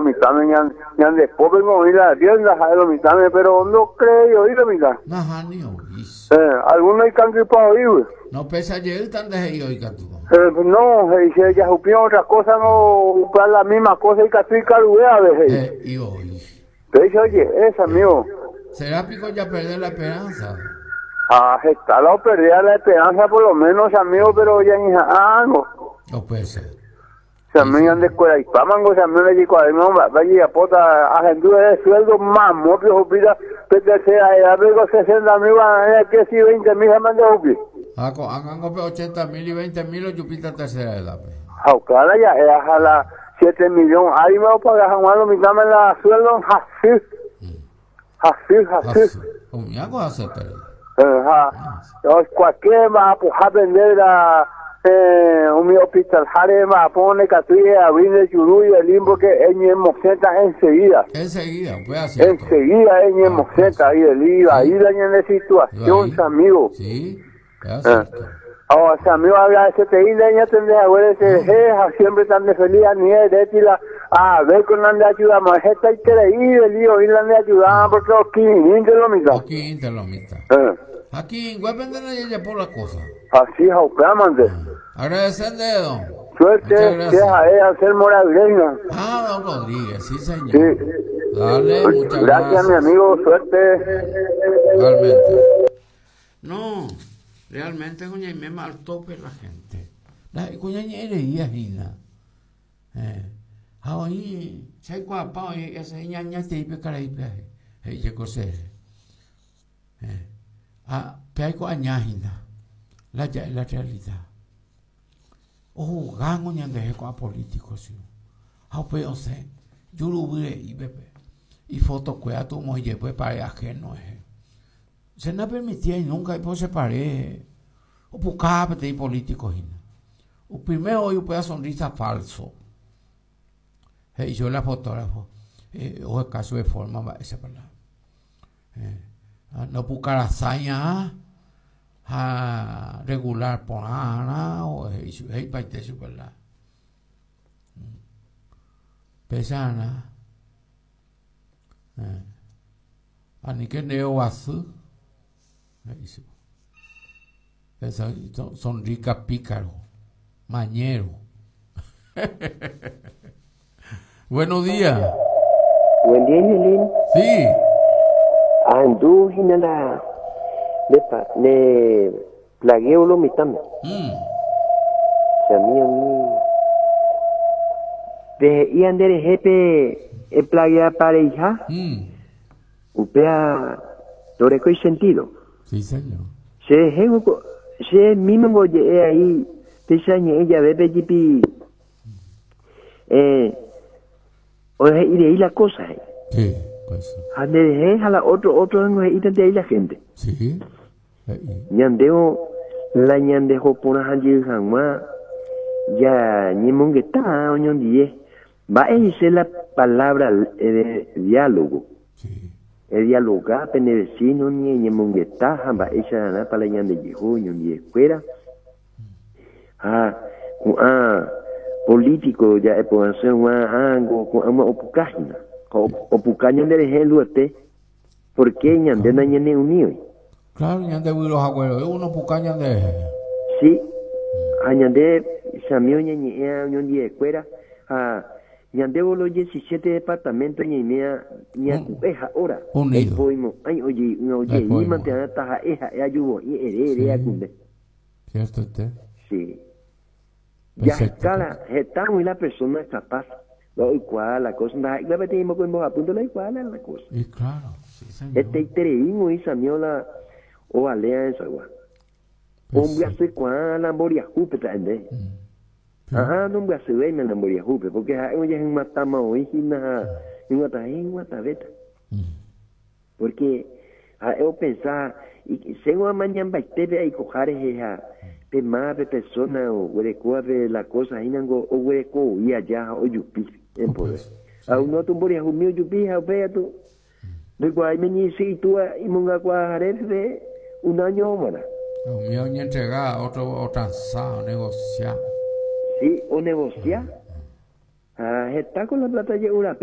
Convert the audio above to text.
lo mitãme ñande pópengo oĩ la rienda ha'e lo mitãme pero ndocreéi oĩ lo mitã. Nahániri oĩ. Alguno ikangypa oĩgui. No pesa jeýta nde he'i oĩ katu. No, he'i che jahupírõ otra cosa no upéva la misma cosa ikatu ikaruve ave he'i. He'i oĩ. Péicha oje'e che amigo. Será piko japerde la esperanza? Ha heta la operdea la esperanza por lo menos che amigo pero jañeha'ã algo. Upéicha. Che amigo ñandekueraipámango che amigo ndajaikuaavéima mba'épa jajapóta ahendu ere sueldo mamópe ohupíta pe tercera edad-pe ko 60 mil guarani que si 20 mil ha mante ohupi. Ha ko'ág̃ango pe 80 mil y 20 mil ojupíta tercera edad-pe. Ha upéva la ja'e ha la 7 millón árima opaga hag̃ua lo mitãme la sueldo hasy. Hasy, hasy. Hasy. Umíva ko hasyeterei. Ha cualquier mba'apohápe nde la umi hospitalháre mba'apo ndaikatúi eavri nde juru y elín porque eñemosẽta enseguida. Enseguida, upéva cierto. Enseguida eñemosẽta y elín vai la ñane situación, Vai. amigo. Sí, upéva cierto. Ha che amigo agradecerei nde ñatende haguére cherehe ha siempre tan de feliz ani eréti la a ver con la nde ayudamos hetaiterei Beli oĩ la nde ayudaba porque okirirĩnte lo mitã. Okirirĩnte lo mitã. Ha kirirĩnguépe nde jajapo la cosa. Así ha upévamante. Agradecer nde don. Suerte che ha'e Anselmo Rodríguez. Ah, don Rodríguez, sí señor. Sí. Dale, muchas gracias. Gracias mi amigo, suerte. Igualmente. No, realmente kuñaiméma al tope la gente. Ndaha'éi kuña ñe'ẽ reía hína. Ha oĩ che aikuaapa oĩ he'i ase iñañaitei pe karaípe aje, he'i che ko chéve. Ha pe aiko aña hína, la ja'e la realidad. Ohugángo ñanderehe ko'ã político che. Ha upéi osẽ juruvy reípe pe ifotokuéra tu omoĩ jepy pare ajeno rehe. Che napermitíai nunca ipo che pare opuka peteĩ político hína. Primero oĩ upéva sonrisa falso. He'i chupe la fotógrafo oheka chupe forma mba'éichapa la ndopukarasái ha regular porãrã he'i chupe he'ipaite chupe la péicharã. Aníke nde ovasy, he'i chupe. Sonrica pícaro, mañero. Buenos días. Buen día, Yelín. Sí. Ahendu hína la ne plagueo lo mitãme. Che amigo mi. Pe he'íva nde rehe pe eplagueapa reiha, upéva ndorekói sentido. Sí, señor. Che rehéngo, che mímongo oje'e aí péicha ñe'ẽ jave pe jipi ohe'i rei la cosa he'i. Sí, pues. Ha nde rehe ha la otro otro ningo he'ítante aí la gente. Sí, he'i. Ñandévo la ñandeho porã jey hag̃ua ja ñemongeta oñondive. Mba'e he'ise la palabra de diálogo? Sí. Edialoga pene vecino ni eñemongeta ha mba'eicharãpa la ñandejeho oñondivekuéra. Ha ko'ã político ja'e porãse hag̃ua ángo ko'ág̃a opuka hína. Ha opuka ñanderehe Luete porque ñande nañaneuníoi. Claro, ñande vyro haguére uno opuka ñanderehe. Sí, ha ñande chami oñeñe'ẽ oñondivekuéra ha ñandévo los 17 departamento ñaiméa ñaku'e ha'óra. Unido. Ndaipoimo'ãi ojeímante taha'e ha'e ajuvo'i ere ere akunde. Cierto usted. Sí. Ya está la, heta oĩ la persona capaz la oikuaa la cosa ndaha'éiva peteĩ mokõi mbohapýnte la oikuaa la cosa. Y claro, sí señor. Hetaiterei oĩ samío la ovalea esagua. Ombyasykuaa la mboriahúpe ta'ende. Aha, nombyasyvéima la mboriahúpe porque ha'e ojehymatama oĩ hína ha hyg̃uatã hyg̃uatãvéta. Porque ha'e opensa chéngo amañambaitépe aikoha rehe ha pe máva pe persona oguerekóvape la cosa hínango oguereko aja ha ojupi en poder. Ha uno atu mboriahumi ojupi ha upéi atu ndoikuaái meñe'ẽsy itúva imongakuaaharépe un año g̃uarã. Umi oñentrega otro otransa, onegocia. Sí, onegocia. Ha heta con la plata je'urape.